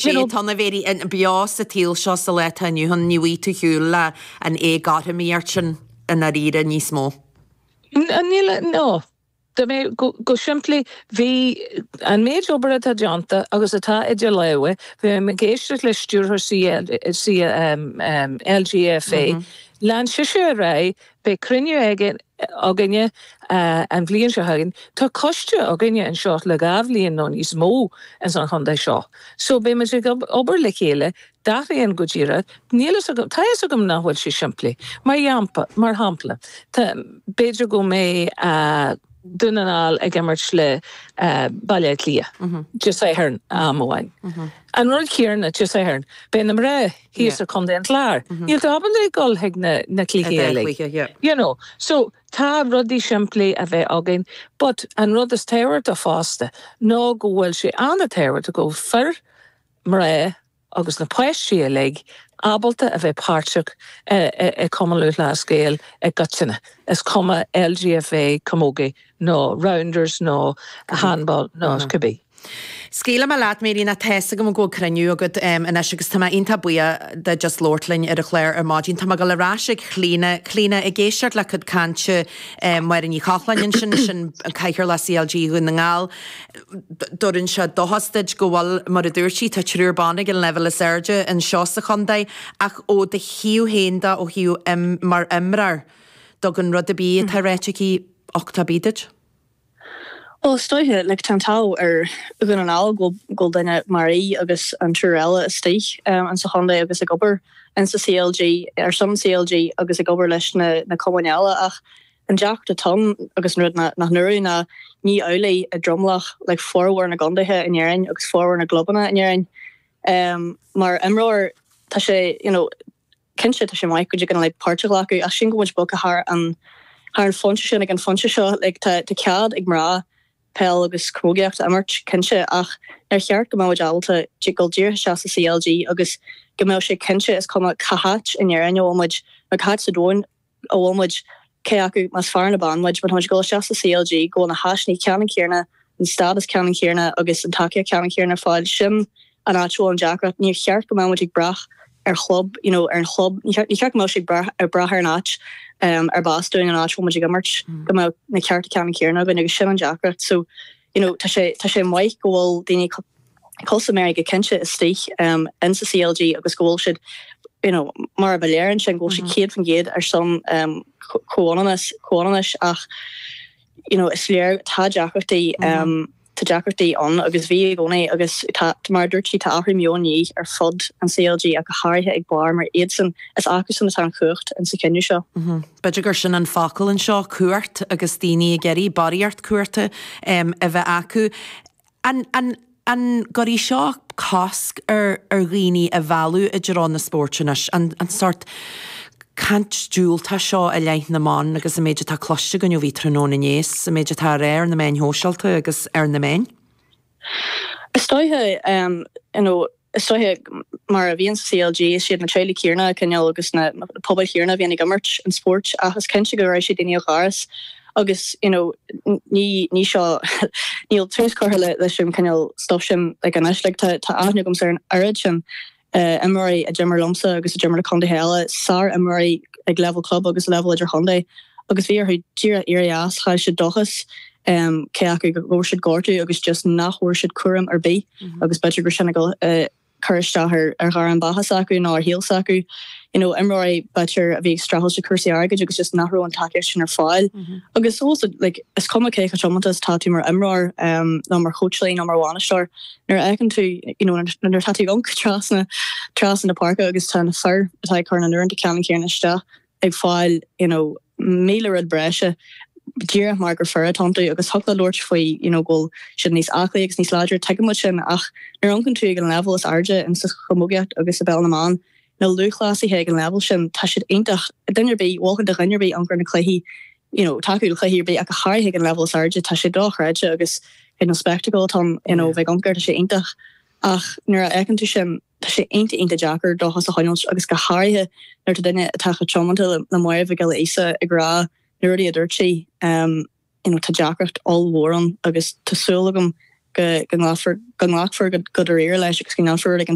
Sé atá ann a Mhary beo sa tsaol seo sa lá atá inniu ann, ní bhfaighidh tú ar shiúl le an éagothromaíocht sin i ndáiríre níos mó. Níl, no. Dá mbeadh, go simplí, bhí an méid obair atá déanta agus atá idir lámha, bhí mé ag éisteacht le stiúrthóir LGFA, lean sise ar aghaidh, beidh cruinniú aige, againne an bhliain seo chugainn. Tá coiste againne anseo le 2 bhliain nó níos mó ins an chontae seo. So beidh muid ag obair le chéile, d'athraíonn go díreach, níl fhios agam, tá fhios agam nach bhfuil sé simplí. Mar mar shampla, tá, b'fhéidir go mbeidh Dún na nGall ag imirt le Baile Átha Cliath Dé Sathairn am amháin. An rud céanna Dé Sathairn, beidh na mná thíos i Contae an Chláir. Níl tú ábalta ag dul chuig na na cluichí uilig. You know, so tá rudaí simplí a bheith againn but an rud is tábhachtach fosta ná go bhfuil sé an-tábhachtach go bhfuil fir, mná, agus na páistí uilig ábalta a bheith páirteach i Cumann Lúthchleas Gael i gcoitinne, is cuma LGFA, Camogie nó Rounders nó Handball nó cibé. Scaoilfidh mé leat, Mary, nó tá fhios agam go bhfuil cruinniú agat anois agus tá mé iontach buíoch de just labhairt linn ar an chlár ar maidin. Tá mé ag dul ar ais ag Clíona. Clíona, ag éisteacht le cuid cainte Máire Ní Chochláin ansin, sin Cathaoirleach CLG Dhún na nGall, D'oireann sé dóchas duit go bhfuil, mar a dúirt sí, tá triúr ban ag an leibhéal is airde anseo sa chontae ach ó do thaobh féin de, ó thaobh mar imreoir, dtugann rud ar bith atá ráite aici uchtach ar bith duit? Bhuel, is dóiche, like, tá an t-ádh ar Dhún na nGall go bhfuil duine mar í agus an triúr eile istigh insa chontae agus ag obair insa CLG, ar son an CLG agus ag obair leis na na cumainn eile ach An deacracht atá ann agus an rud nach ndúradh ná ní amhlaidh i dtromlach like formhór na gcontaetha in Éirinn agus formhór na gclubanna in Éirinn. Mar imreoir tá sé you know cinnte tá sé maith go dtig like páirt a ghlacadh ach sílim go bhfuil muid bogtha thar an thar an phointe sin ag an phointe seo like tá tá cead ag mná peil agus camógaíocht a imirt cinnte ach níor cheart go mbeadh muid ábalta dul díreach isteach sa CLG agus go mbeadh sé cinnte is cuma cá háit in Éirinn a bhfuil muid nó cá háit sa domhan a bhfuil muid, cé acu más fear nó bean muid, má tá muid ag dul isteach sa CLG, go bhfuil na háiseanna ceannann céanna, an stádas ceannann céanna agus an tacaíocht ceannann céanna ar fáil. Sin an áit a bhfuil an deacracht. Níor cheart go mbeadh muid ag brath ar chlub, you know, ar an chlub, ní cheart go mbeadh sé ag brath, ag brath ar an áit arb as dúinn, an áit a bhfuil muid ag imirt, go mbeadh na cearta ceannann céanna againn agus sin an deacracht. So, you know, tá sé, tá sé maith go bhfuil daoine cosúil le Mary go cinnte istigh in sa CLG agus go bhfuil siad, you know, mar a ba léir ansin go bhfuil siad 100% ar son comhionannas, comhionannais ach, you know, is léir tá deacrachtaí, tá deacrachtaí ann agus bhí i gcónaí agus tá, mar a dúirt sí, tá athrú meoin de dhíth ar fud an CLG ach go háirithe ag barr mar iadsan, is acusan atá an chumhacht in sa chinneadh seo. B'fhéidir gur sin an focal anseo, cumhacht, agus daoine ag iarraidh barraíocht cumhachta a bheith acu. An, an, an gcuirfidh seo cosc ar, ar dhaoine a mhealladh i dtreo na spóirt anois? An, an sórt caint diúltach seo i leith na mban agus an méid atá cloiste againn ó bhí tráthnóna inné is an méid atá á rá ar na meáin shóisialta agus ar na meáin? Is dóiche, you know, Is dóiche, mar a bhíonn sa CLG, is iad na teaghlaigh chéanna, cineál, agus na pobail chéanna a bhíonn ag imirt an spóirt ach is cinnte go raibh sé daoine ó dhoras agus you know ní ní seo níl tús curtha le leis an cineál stuff sin like anois like tá tá aithne agamsa ar an oiread sin imreoirí a d'imir liomsa agus a d'imir le contaetha eile, sár-imreoirí ag leibhéal club agus leibhéal idirchontae agus bhí orthu díreach éirí as, chaill siad dóchas cé acu go bhfuair siad gortú agus just nach bhfuair siad cúram ar bith agus b'fhéidir gur sin ag cur isteach ar ar ghairm beatha s'acu nó ar shaol s'acu. You know, imreoirí b'fhéidir a bhí ag streachailt le cúrsaí airgid agus just nach raibh an tacaíocht sin ar fáil. Agus also like is cuma cé chomh tiomanta is atá tú mar imreoir nó mar chóitseálaí nó mar bhainisteoir, nuair a fheiceann tú you know nuair atá tú ag amharc trasna trasna na páirce agus tá na fir atá ag cur na n-uaireanta ceannann céanna isteach ag fáil you know 1000 rud breise díreach mar gur fir atá iontu agus thiocfadh leat labhairt faoi you know go bhfuil siad níos aclaí agus níos láidre, tuigeann muid sin ach nuair a amharcann tú ag an leibhéal is airde in sa chamógaíocht agus i bpeil na mban, na lúthchleasaithe ag an leibhéal sin, tá siad iontach, duine ar bith, mholfainn do dhuine ar bith amharc ar na cluichí you know tacú le cluichí ar bith ach go háirithe ag an leibhéal is airde, tá sé dochreidte agus you know spectacle atá ann you know bheith ag amharc air, tá sé iontach ach nuair a fheiceann tú sin, tá sé iontach iontach deacair dóchas a choinneáilt agus go háirithe nuair atá duine atá chomh tiomanta le Máire Mhic Giolla Íosa ag rá na rudaí a dúirt sí, you know tá deacracht ollmhór ann agus tá súil agam. go nglacfar go nglacfar go dáiríre leis agus go ndéanfar rud éigin.